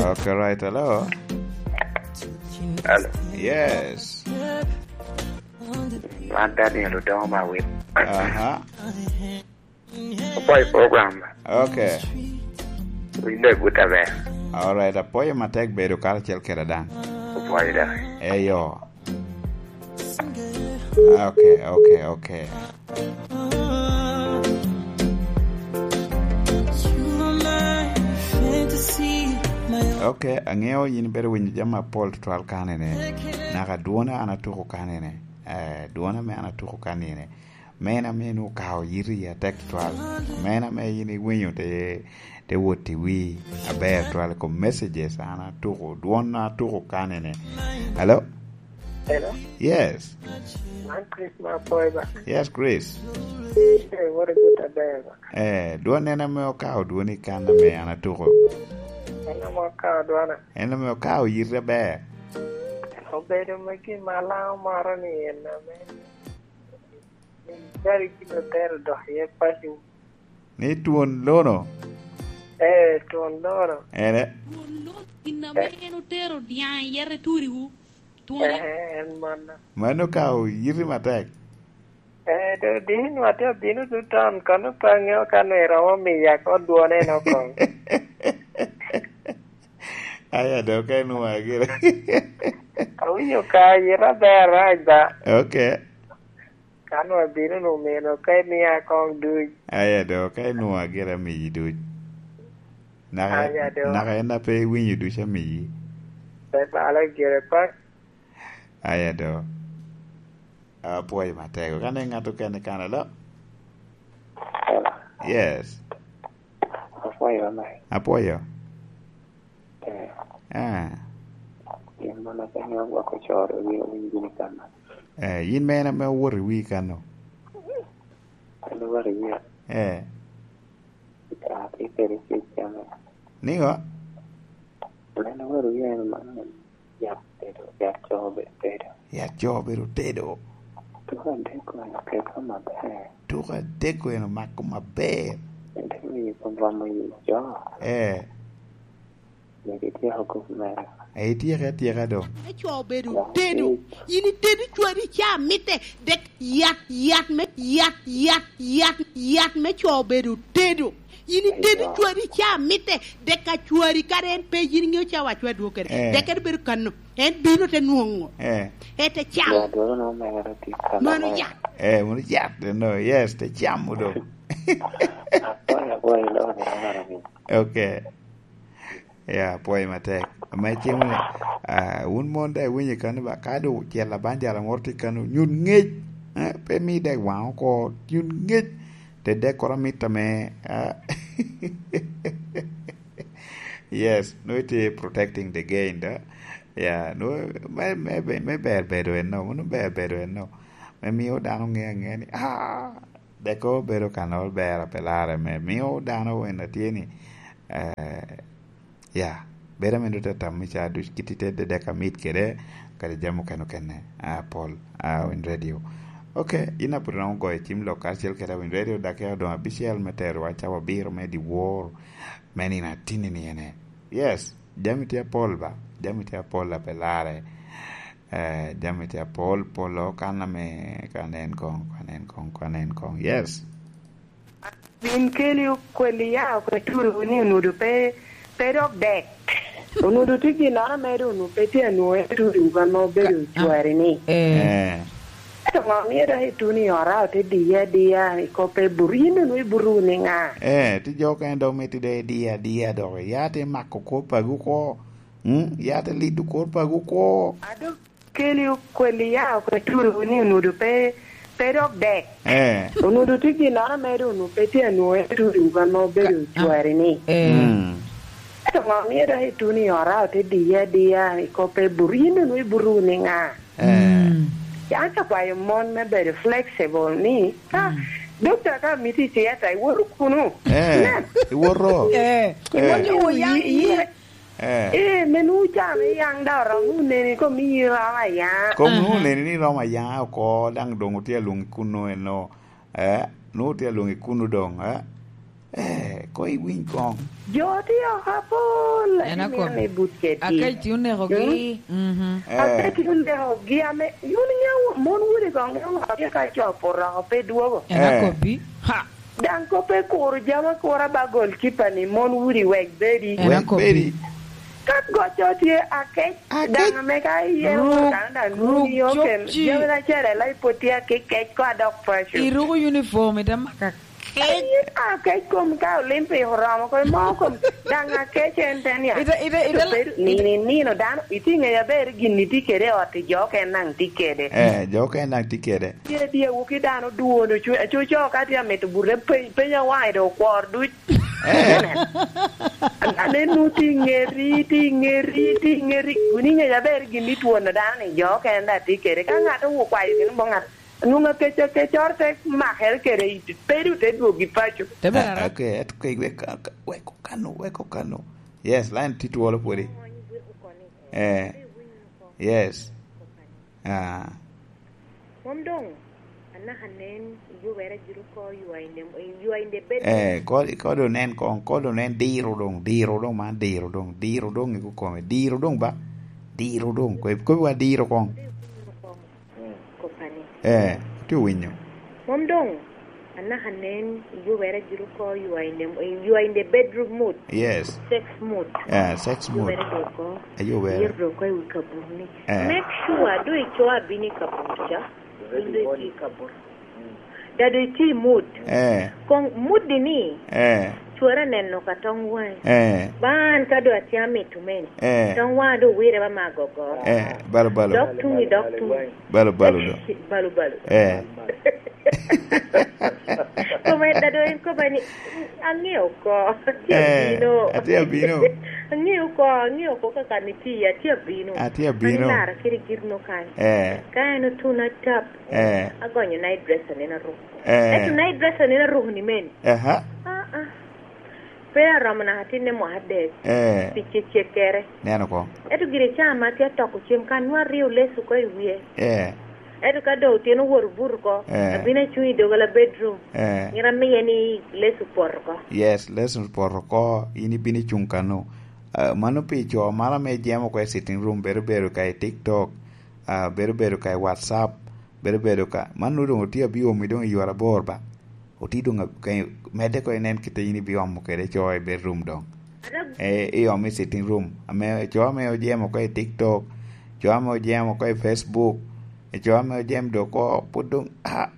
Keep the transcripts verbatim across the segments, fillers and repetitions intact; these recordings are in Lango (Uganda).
Okay, right. Hello. Hello. Yes. Man Daniel Odongo Mawit. Aha. Apwoyo program. Okay. Winde gut aber. All right, apwoyo matek bedo karacel kede dan. Apwoyo da. Eyo. Okay, okay, okay. Okay, aŋeo yin ibedo winyo jami apol tutwal kanene. Naka dwona an atuko kanene. Eh, dwona me an atuko kanene. Meno ame nwoŋo okao yiti atek twal. Meno ame yin iwinyo te, te wot i wi aber twal i kom messages an atuko, dwon atuko kanene. Hello? Hello? Yes. Man Chris ma Apoy ba. Yes, Chris. Eh, what a good aber ba. Eh, dwon en ame okao dwoni kan ame an atuko. En ame okao dwona. En ame okao yiti aber. Obedo me gin ma Lango moro ni en ame. Gari gin otero dok iye paco. Ni twon lono? Ee, twon lono. Ene? Twon lono, gin ame en otero dyaŋ i yete turiwu. Twon. Ee, en mano. Mano ka oyiti matek. Ee, do dini atye abino tutan, kono pe aŋeo ka nwe romo miya ko dwone en okoŋ. Aya, do ka inwoŋo agire. Awinyo ka yita ber rac ba. Okay. Ka nwoŋo abino nwoŋo meno, ka imia koŋ duc. Aya do, ka inwoŋo agire amiyi duc. Naka, aya do. Naka en a pe iwinyo duc amiyi. Pe balo gire pak. Aya do. Apwoyo matego. Ka ne ŋat okene kan alo? Yes. Apwoyo, ame. Apwoyo. Eh. Ah. Gin man ate ŋeo gwok ocoro wi owiny gini kan. Eh, yin me en ame owoto i wi kano? An owoto i wi. Eh. Ka ate kede cik kano. Niŋo? An owoto i wi en man. Yat tedo, yat co obedo tedo. Yat co obedo tedo. Tuko adek eno keko maber. Tuko adek eno mako maber. Ento miyo kom romo yi jo. Eh. Megi ityeko kop mere. Eh, ityeke atyeka do. Me co obedo tedo. In itedo cwari ca mitte. Dek yat, yat me, yat, yat, yat, yat me co obedo tedo. In itedo cwari ca mitte. Dek a cwari kare en pe yin ŋeo ca wa cwa dwokere. Eh. Dek en bedo kano. En bino te nwoŋo. Eh. En te camo. Mano yat. Eh, mano yat, no, yes, te camo do. Apwoyo, apwoyo, iloko ni, iloko ni. Okay. Ya, apwoyo matek. Ame cimo ni, ah, wun mon da iwinyo kano ba, ka do cel abanjala moro tye kano, nyut ngec. Eh, pe mi dek waŋ oko, nyut ngec. Te dek koro amit ame, ah, yes, no, it is protecting the gain, da. Ya, no, me, me, me, me ber bedo eno, mano ber bedo eno. Me miyo dano ŋe aŋea ni, ah, deko bedo ka nol ber a pe larre, me miyo dano wen a tye ni, eh, ya, bedo ame nut atam i ca duc kit i te dek amit kede, kadi jami okene okene, ah, pol, ah, Win Radio. Ok, in a pwod iromo goyo cim lok karacel kede Win Radio, dakika odoŋ abicel me terowa cawa abiro me dyewor me nino atinni ni ene. Yes, jami tye apol ba, jami tye apol a pe larre. Eh, jami tye apol, polo kan ame, kan en koŋ, kan en koŋ, kan en koŋ. Yes. Bin keli okweli ya okwe turiwu ni onudo pe, pe dok dek. Onudo tye ginnoro ame doŋ onwoŋo pe tye anwoŋo en turiwu ame obedo cwari ni. Eh. Eh. Ento ŋo mio dok ituno i ora ote diye adiya i kop pe buto? Yin onwoŋo ibuto wunu i ŋa? Eh, tye jo okene dok mito dok idiye adiya dok. Ya te mako kor pago oko. Mm, ya te lido kor pago oko. Ado keli okweli ya okwe turiwu ni onudo pe, pe dok dek. Eh. Onudo tye ginnoro ame doŋ onwoŋo pe tye anwoŋo en turiwu ame obedo cwari ni. Eh. Mm. Ento ŋo mio dok ituno i ora ote diye adiya i kop pe buto? Yin onwoŋo ibuto wunu i ŋa? Eh. Mm. An akwayo mon me bedo flexible ni, ah, mm, dokta ka miti i theater, iwoto kunu. Eh, iwoto. Eh, eh, iwoto ya, yi, eh. Eh, me nwoŋo can i yaŋ da oromo neni kom i romo aya. Kom nwoŋo, aha, neni ni romo aya oko, daŋ doŋ otye alwoŋi kuno eno. Eh, nwoŋo otye alwoŋi kuno doŋ, eh. Eh, ko iwiny kong. Jo tye oko apol, En ati akobbi. Miyo ni but kedgi. Akec tye onekogi. Mm? Mhm. Eh. Akec tye onekogi ame, yun iŋeo mon wudi kong, iŋeo ŋo tye ka copo roko pe dwogo. En Eh. akobbi. Ha! Daŋ kop ekuro jami akura ba gol kipa ni mon wudi wek bedi. En Wek akobbi. bedi. Ka goco tye akec, Akec. daŋ ame ka iye Ruk, woro daŋ daŋ ruk nuni oken, copci. Jami na cere lai pwod tye akec kec ko adok paco. Iruko uniform, ite maka Kec. Aye, a, kec kom ka Olympic oromo, kom mo kom, daŋ akec en te niaŋ. Ite, ite, ite la- Bedo, nino, nino dano, itye ŋeyo aber gin itye kede i ot, i jo okene daŋ tye kede. Eh, jo okene daŋ tye kede. Tye dyewu ki dano dwon, ocu-, acuco ka tye amito bute peny, peny awaŋe dong okwor duc. Eh. Anenu tye i ŋeri, tye i ŋeri, tye i ŋeri. Wun iŋeyo aber gin itwon dano ni jo okene daŋ tye kede. Ka ŋat okwayo gin bo ŋat, Nwoŋo akec, akec oro te makere kede i, pe du te dwogo i paco. Te bedo Ah, ara. Okay, et-, ke-, wek, wek okano, wek okano. Yes, line tye twolo pwodi. Eh, yes. Ah. Mom doŋ, anaka nen, iyubere jiro ko, you are in the, you are in the bedroom. Eh, ko, ko do nen ko, ko do nen diro doŋ, diro doŋ, man diro doŋ, diro doŋ i kome, diro doŋ ba, diro doŋ, ko, ko wa diro koŋ. Mm. Kopani. Eh, atye winyo. Mom doŋ, anaka nen, iyubere jiro ko, you are in the, you are in the bedroom mood. Yes. Sex mood. Eh, sex mood. Iyubere doko. Ayubere. Iyero doko i wi kaburni. Eh. Make sure, do ico abino i kabur ca, in do itye i kabur. Dado itye i mood. Eh. Koŋ mood ni, Eh. Cwara neno ka tong waŋe. Eh. Ba an ka do atye amito mene. Eh. Tong waŋa do wire ba ma gogo. Eh, balo, balo. Dok tuŋi, dok tuŋi. Balo, balo do. Balo, balo. Eh. Kome dado en koba ni, "Aŋeo ko, atye Eh, abino." atye abino. "Aŋeo ko, aŋeo ko kaka ni tye, atye abino." Atye abino. Mani lara kiri giri no kany. Eh. Ka en otuna tap, Eh. agonyo night dress anena ruko. Eh. Ento night dress anena ruko ni meni. Aha. Ah, ah. Pe aromo naka tinne mwaka adek. Eh. Pi cekkere. Neno ko. Ento gire ca ma tye atoko cem ka nwa aryo lesu ko i wie. Eh. Ento ka do otyeno woro buto ko, Eh. abino acuŋ i dogola bedroom. Eh. Ngira miye ni lesu poto ko. Yes, lesu poto ko, in ibino icuŋ kano. Ah, mano pi co mara me jemo ko i sitting room, bedo bedo ka i TikTok, ah, bedo bedo ka i WhatsApp, bedo bedo ka. Man nwoŋo doŋ otye abiomi doŋ i yore abor ba. Otye doŋ a-, ka-, medde ko inen kite in ibiomo kede co i bedroom doŋ. Ada- Eh, iomo i sitting room. Ame, co ame ojemo ko i TikTok, co ame ojemo ko i Facebook, co ame ojemo doŋ ko, pwod doŋ, ah,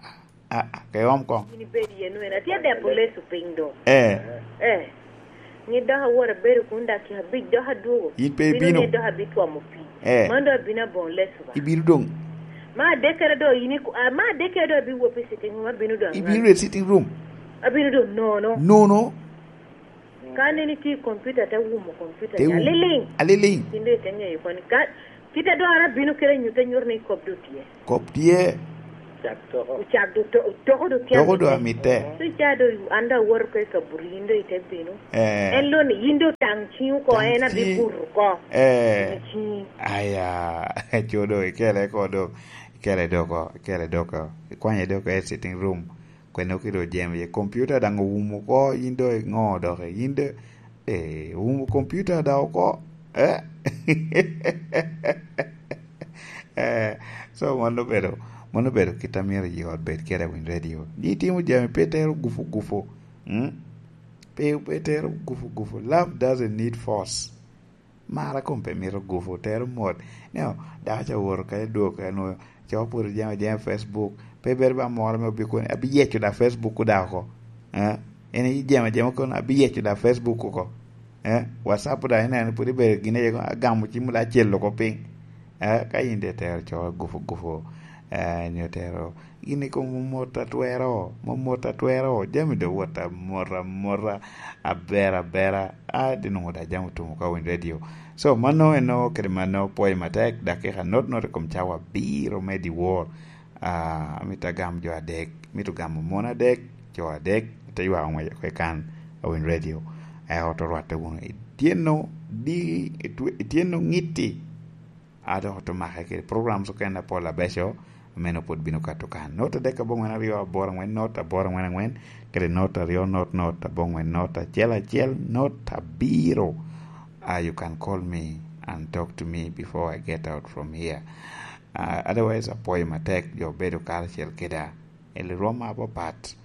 ah, ah, ke iom koŋ. In ibedo iye nwene. Atye debo lesu piny doŋ. Eh. Eh. Ni dok awot abedo kun dakika abic, dok adwogo. In pe Bino ibino. Ni dok abitwomo pii. Eh. Man dok abino aboŋo lesu ba. Ibino doŋ. Ma adekkere do in iku-, ah, ma adekkere do abiwot pi sitting room, abino doŋ Ibino aŋal. I sitting room. Abino doŋ nono. Nono. Ka aneni tye i kompiuta, te wumo kompiuta Te ni, wum-, aliliŋ. Aliliŋ. Kin do ite ŋeyo koni. Ka, kite do an abino kede anyut, anyut ni kop do tye. Kop tye. Cak toko. Ocak do to-, toko do tye Toko do amitte. Amitte. So ca do an do awoto ko i kaburi, yin do ite bino. Eh. En lo ni yin do tang ciŋ oko, Tang en abi ciŋ. Buto ko. Eh. Tang ciŋ. Aya, co do ikele ko do. Ikele doko, ikele doko. Ikwanye doko i sitting room. Kwene okelo jemo ye. Computer daŋ owumo oko, yin do iŋo dok, yin do, eh, owumo computer daŋ oko, eh? Eh, so mano obedo, mano obedo kit a myero ji ot bed kede i Winy Radio. Ji timo jami pe tero gupu gupu, mm? Pe, pe tero gupu gupu. Love doesn't need force. Mara kom pe mito gupu, tero mot. Neo, dako ca owoto kede dwok, anwo, co pwod ojemo ajema i Facebook. Pe bedo ba moro ame obikono, "Abiyeco da Facebook da oko." Eh? En ijemo ajema kono, "Abiyeco da Facebook oko." Eh? WhatsApp da ineno, pwod ibedo gin aye kono, "Agamo cim da acel oko piny." Eh? Ka in de tero co gupu gupu, eh, nyo tero Gin i kom omot atwero, momot atwero, jami doŋ wot amot amota, aber abera, a, di nwoŋo da jami otumo ka Winy Radio. So, mano eno kede mano, pwoyo matek, dakika not not i kom cawa abiro me dyewor. Ah, amito agam jo adek, mito gamo mon adek, co adek, te ywako ngwec oko i kan a Winy Radio. Eh, oto rwatte wunu. Ityeno di, itwe-, ityeno ŋitti. A dok oto make kede programs okene apol abeco, Meno pwod bino kato kan. Not adek aboŋwen aryo aboro aŋwen not aboro aŋwen aŋwen, kede not aryo not not aboŋwen not acel acel not abiro. Ah, you can call me and talk to me before I get out from here. Ah, otherwise, apwoyo matek jo obedo karacel keda. Eli rwom apapat.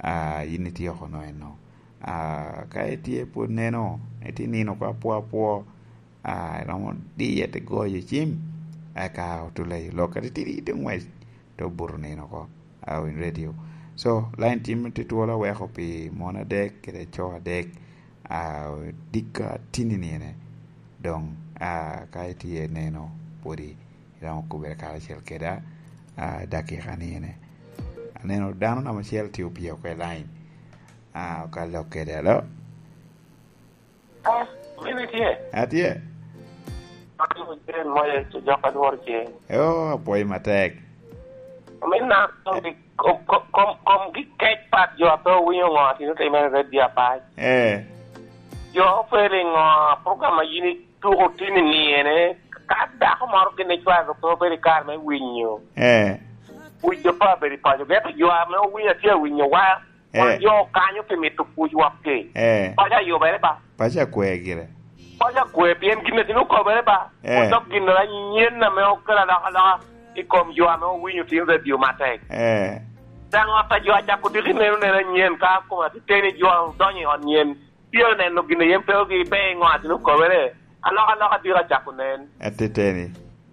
Ah, yin itye oko no eno. Ah, ka itye pwod neno, itye nino oko apwo apwo, ah, iromo diye te goyo cim, eka otula i lok atitidi te ŋwec, te obuto nino oko, ah, in radio. So, line tim tye twolo aweko pi mon adek kede co adek, ah, dika tini nine. Doŋ, ah, ka itye neno, pwodi iromo kubere karacel keda, ah, dakika nine. Aneno dano namba acel tye opye oko i line. Ah, okalo kede, alo? Ah, mini tye? Atye. Atye Jane Moyes, jok a lworo ceng. Oh, apwoyo matek. Min na, kom, kom, kom, kom gi kec pat jo a pe owinyo ŋo a tino timere i radio apac. Eh. Jo ope liŋo program a yin ituko tini niene, ka dako moro gin icwalo pe obedo i kare me winyo. Eh. Wic jo pe obedo i paco, gento jo ame owinyo atye awinyo wa. Wan jo kanyo pi mito kuc wok-ki. Eh. Paco ayubere ba. Paco akwe gire. Paco akwe pien gin a tino okobere ba. Eh. Odok gin anyen ame okelo alokaloka i kom jo ame owinyo tin radio matek. Eh. Daŋ ot a jo acako diki neno neno anyen ka kom atiteni jo odonyo i ot nyen. Pien oneno gin a yen pe ogi pe i ŋo a tino okobere. Alokaloka diki acako nen. Atiteni.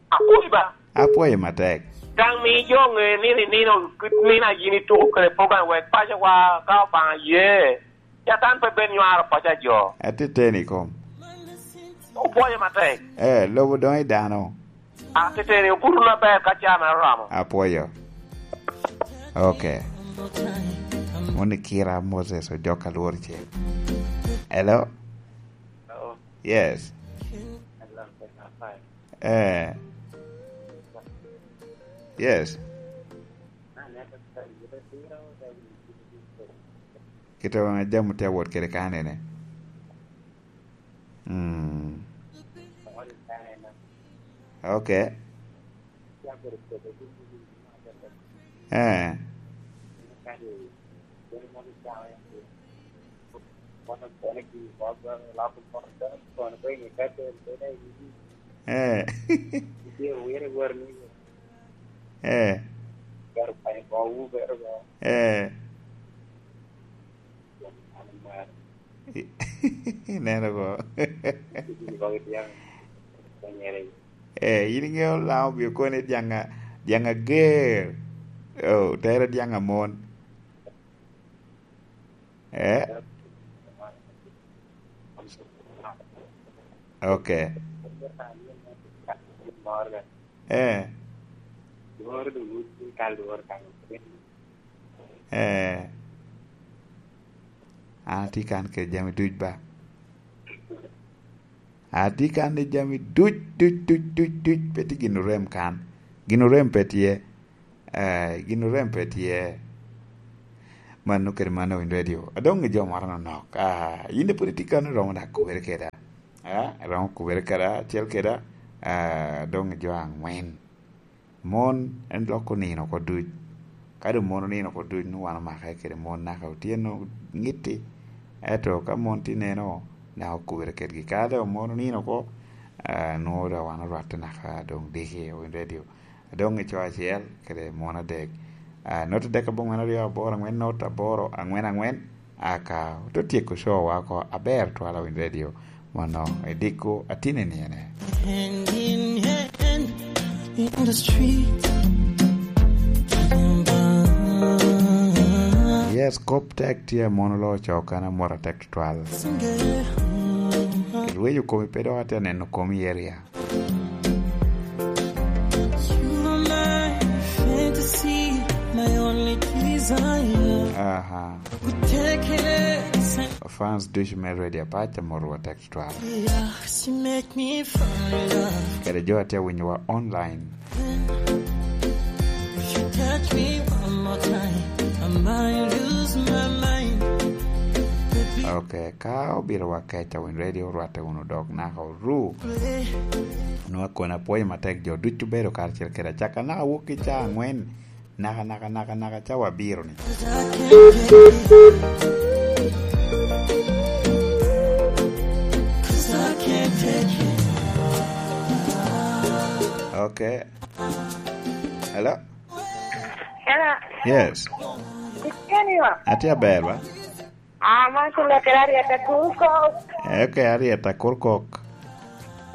Apwoyi ba. Apwoyi matek. Daŋ mi jo ŋe ni, ni, nino, nino a yin ituko kede program wek pacowa ka Obaŋa ye. Catan pe ben nywaro paco a jo. Atiteni kom. Opwoyo matek. Eh, lobo doŋ i dano. Atiteni obuto maber ka caa mere oromo. Apwoyo. Ok. Moni kira Moses ojok alwor cel. Hello? Hello? Yes. Hello, hello, fine. Eh. Yes. Kite wan jam tye awot kede kanene. Mm. Ok. Eh. Eh. Eh. Eh. Ineno bo. Eh, in iŋeo Lango obio koni dyaŋ a-, dyaŋ ager. Oh, tere dyaŋ amon. Eh? Ok. Eh. Eh. An atye kan kede jami duc ba. Atye kan i jami duc, duc, duc, duc, duc. Pe tye gin orem kan. Gin orem pe tye. Eh, gin orem pe tye. Mano kede mano in radio. Adong i jo moro nonok. Ah, yin de pwod itye kan, iromo dok kubere keda. Ah, iromo kubere keda, acel keda. Ah, adong i jo aŋwen. Mon en loko nino oko duc. Ka doŋ mon onino oko duc, nwoŋo wan omake kede mon naka otyeno ŋitti. Ento ka mon tye neno, naka okubere kedgi. Ka doŋ mon onino oko, ah, nwoŋo doŋ wan orwatte naka doŋ diki, owinyo radio. Adoŋ i co acel kede mon adek. Ah, not adek aboŋwen aryo aboro aŋwen not aboro aŋwen aŋwen. Aka oto tyeko show wa oko aber twala Winy Radio. Mono ediko atine niene. Hand in hand in the street. Yes, kop tek tye mono lo cok kan amwota tek tutwal. Rweyo komi pe dok atye neno komi area. You are my fantasy, my only desire. Aha. Take it. Fans ducu me Radio Apac, amorwu atek tutwal. Yeah, she make me fall in love. Kede jo a tye winyowa online. If you touch me one more time, I might lose my mind. Baby, Ok, ka obiro wa keca Win Radio, orwatte wunu dok naka oru. Onwoŋo akona apwoyo matek jo ducu bedo karacel kede acakka naka wok i caa angwen. Naka, naka, naka, naka, cawa abiro ni. Ok. Hello? Hello. Yes. Itye ni wa? Atye aber, ba? Ah, man kulo kede Arieta Kurkok. Eh, ok, Arieta Kurkok.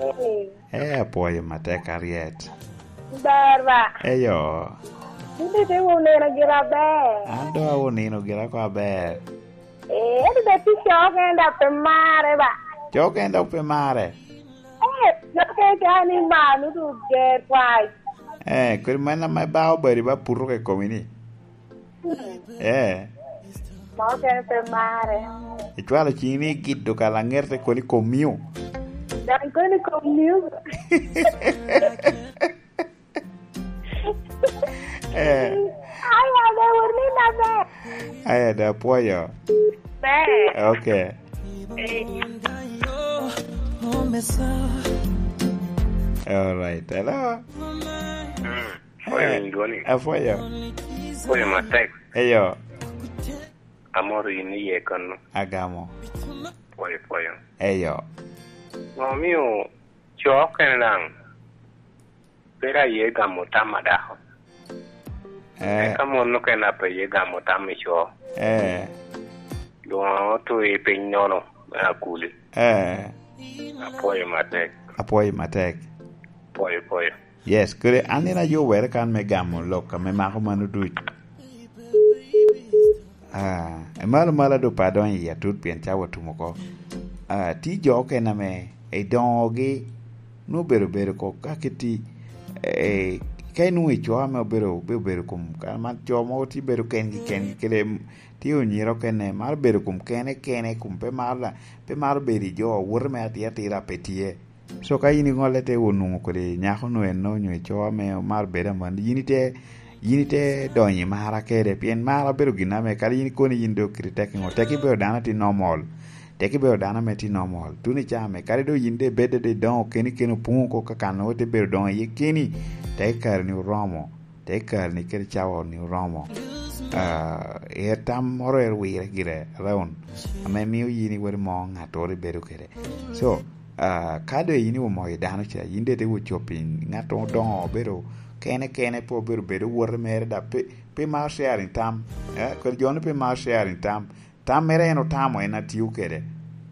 Eh. Eh, apwoyo matek, Ariet. Ber ba? Eyo. Ite te wun neno gira ber. An do awun nino gira ko aber. Eh, ento da ti cok en da pe mare ba. Cok en da pe mare. Eh, cok en da ni manu du ger kwai. Eh, kodi man ama ba obedi ba puto ke komi ni. Eh. Ma okene pe mare. Icwalo cini ni gido ka laŋete koni komio. Dok koni komio. Eh. Aya, be wor ni na be. Aya, da pwoyo. Be. Ok. Eh. All right. Hello. Mm. Pwoyo Eh, in dwoni. Apwoyo. Pwoyo matek. Eyo. Amoro in iye kono. Agamo. Pwoyo, pwoyo. Eyo. Ŋo omio co okene daŋ? Pera aye gamo tam a dako. Eh. Eka mon okene a pe ye gamo tam i co. Eh. Doŋ otwe piny nono me akuli. Eh. Apwoyo matek. Apwoyo matek. Pwoyo, pwoyo. Yes, kede an in ayo were kan me gamo lok ame mako mano duc. Ah, emalo malo do pe adonyo i atut pien cawa otum oko. Ah, ti jo okene ame i doŋogi nwoŋo obedo bedo oko ka kiti, eh, ka inwoŋo i co ame obedo, obedo, obedo kom, kare man co mogo ti bedo kengi, kengi, kede m-, ti onyiro okene, maro bedo kom kene, kene, kom pe maro la, pe maro bedo i jo, wote me atira atira pe tye. So ka in iŋolle te onwoŋo kodi nyako nu enno onyo ico ame omaro bedo aman, yin ite, yin ite donyo i mara kede, pien mara bedo gin ame kadi yin ikoni yin dok kiri tek iŋo, tek ibedo dano ati normal, tek ibedo dano ame ti normal, tuno i caa ame kadi do yin de ibedde de idoŋo keni keni opuŋo oko ka kan nwoŋo ite bedo doŋo iye keni, tek i kare ni oromo. Te kare ni kede cawa ni oromo. Ah, er tam moro er wire gire around, ame mio yin iwero mo ŋattoro ibedo kede. So, ah, ka doŋ yin iwomoyo dano ca, yin de te wo shopping, ŋat odoŋo obedo kene kene, pe obedo bedo wote mere, da pe, pe maro sharing tam. Eh, kodi jo ni pe maro sharing tam. Tam mere en otamo en atio kede.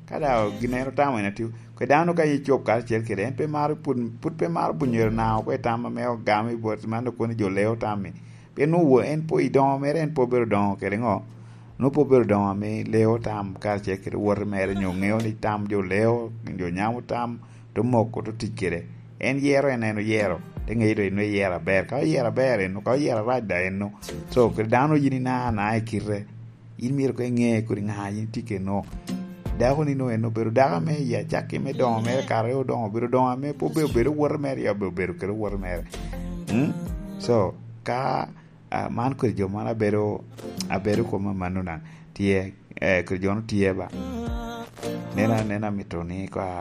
Ka daŋ gin en otamo en atio, kwe dano ka ye cop karacel kede, en pe maro pud, pud pe maro bunyere na oko i tam ame ogamo i bot man okoni jo leo tam-mi. Pien nwoŋo en po i doŋo mere, en po obedo doŋo kede ŋo? Nwoŋo po obedo doŋo ame leo tam karacel kede wote mere, nyo ŋeo ni tam jo leo, jo nyamo tam, to moko, to tic kede. En yero, en, en oyero, te ŋeyo do en oyero aber. Ka oyero aber en, ka oyero arac da en. So, kede dano yin ina, na i kite. In myero koŋ iŋe kodi ŋa yin itye keno. Dako ni nwoŋo en obedo dako ame i acakki me doŋo mere, kare odoŋo, obedo doŋo ame pe obedo, obedo wote mere, ya obedo, obedo kede wote mere. Mm? So, ka, ah, man kodi jo man abedo, abedo koma mano na, tye, eh, kodi jo no tye ba. Nena, nena mito ni ka